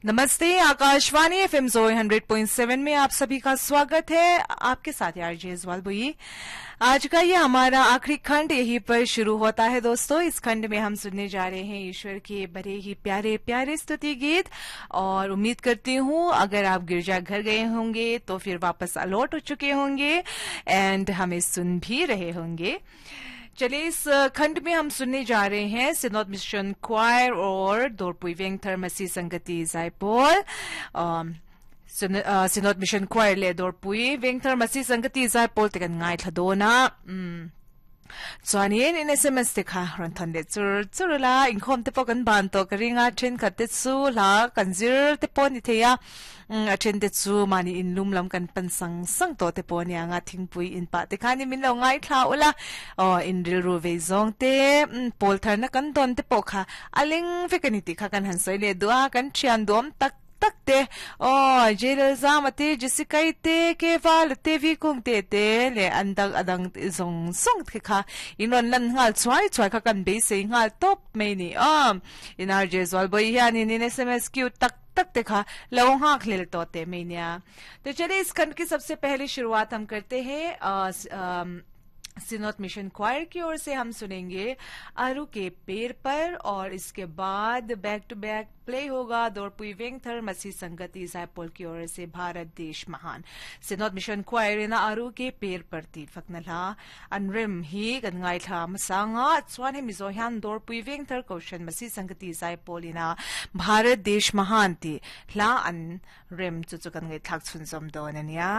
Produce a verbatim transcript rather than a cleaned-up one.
नमस्ते Akashvani F M जोई hundred point seven में आप सभी का स्वागत है। आपके साथ आरजे ज्वाल बुई। आज का ये हमारा आखिरी खंड यहीं पर शुरू होता है दोस्तों। इस खंड में हम सुनने जा रहे हैं ईश्वर के बड़े ही प्यारे प्यारे स्तुति गीत और उम्मीद करती हूँ अगर आप गिरजा घर गए होंगे तो फिर वापस अलॉट हो चुके होंगे एंड हमें सुन भी रहे होंगे। चलिए इस खंड में हम सुनने जा रहे हैं सिनोद मिशन क्वायर और दोरपुई वेंगथर मसीह संगति जायपोल। सिनोद मिशन क्वायर ले दोरपुई वेंगथर मसीह संगति जायपोल te kan ngai thladona chuanin in S M S te kha ron thon le chur chur la inkhom te pawh kan ban tawh ka ringa then khat te chu hla kan zir te pawh ni theia a then te chu mani in lum lam kan pan sang sang tawh te pawh nia nga thingpui in pah te khanin min lo ngai thla ula aw in ril ru vei zawng te pawl thar na kan dawn te pawh kha a leng vek ani tih kha kan han sawi leh duh a kan thian duam tak tak te oh jelal zama te Jessica te keval te vi kung te te le andang adang zong song the kha inon lan ngal chuai chuai kha kan be sei ngal top mai ni um in R J zwal boy hian in S M S Q tak tak te kha lo hak lel to te mai nia। तो चलिए इस खंड की सबसे पहली शुरुआत हम करते हैं सिनोद मिशन क्वायर की ओर से। हम सुनेंगे आरू के पेड़ पर और इसके बाद back to back play होगा दोरपुई वेंगथर मसीह संगति जायपोल की ओर से भारत देश महान। सिनोद मिशन क्वायर ना आरू के पेड़ पर ती फकनला अनरिम ही गंगाई था मसांगा चुआन हे मिजो हियान दोरपुई वेंगथर कौशन मसीह संगति जायपोल इना भारत देश महान ती ला अन रिम चु चु गंगाई थाक छुनजम दोननिया।